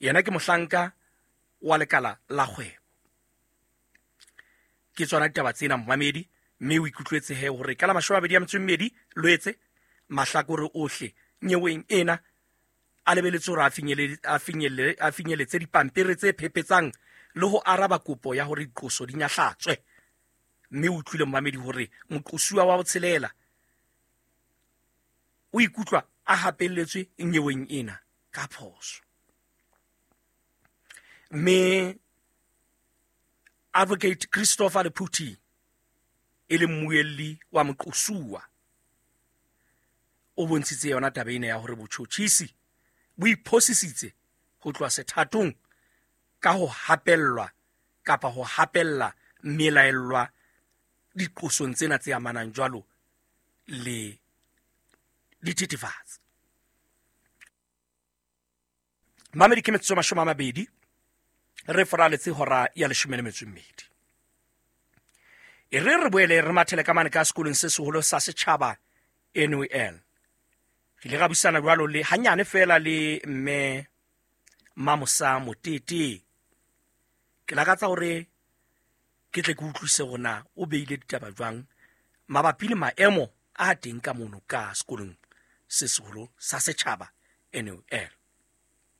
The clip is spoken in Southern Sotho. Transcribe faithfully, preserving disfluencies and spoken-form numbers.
Yena ke mohlanka wa lekala la kgwebo. Ke tsona ditaba tsena momamedi, mme o ikutlwetse he hore ka la mashome a mabedi a metso e mmedi Loetse mahlakore ohle nyeweng ena a lebeletse hore a finyele a finyelle a finyeletse dipampiri tse phephetsang le ho araba kopo ya hore diqoso di nyahlatswe. Mme o utlwile momamedi hore moqosuwa wa botshelela o ikutlwa a hapelletswe nyeweng ena ka phoso. Mme Advocate Christopher Lephuthi e le mmuelli wa moqosuwa o bontshitse yona taba ena ya hore botjhotjhisi bo iphosisitse ho tloha sethatong ka ho hapellwa kapa ho hapella melaellwa diqosong tsena tse amanang jwalo le dithethefatsi. Mamedi ke metsotso mashome a mabedi re foraletse hora ya leshome le metso e mmedi. E re re boele re mathele ka mane ka sekolong se seholo sa setjhaba N U L. Re ile ra buisana jwalo le hanyane feela le mme Mamosa Motete. Ke lakatsa hore ke tle ke utlwise hore na o beile ditaba jwang mabapi le maemo a teng ka mono ka sekolong se seholo sa setjhaba N U L.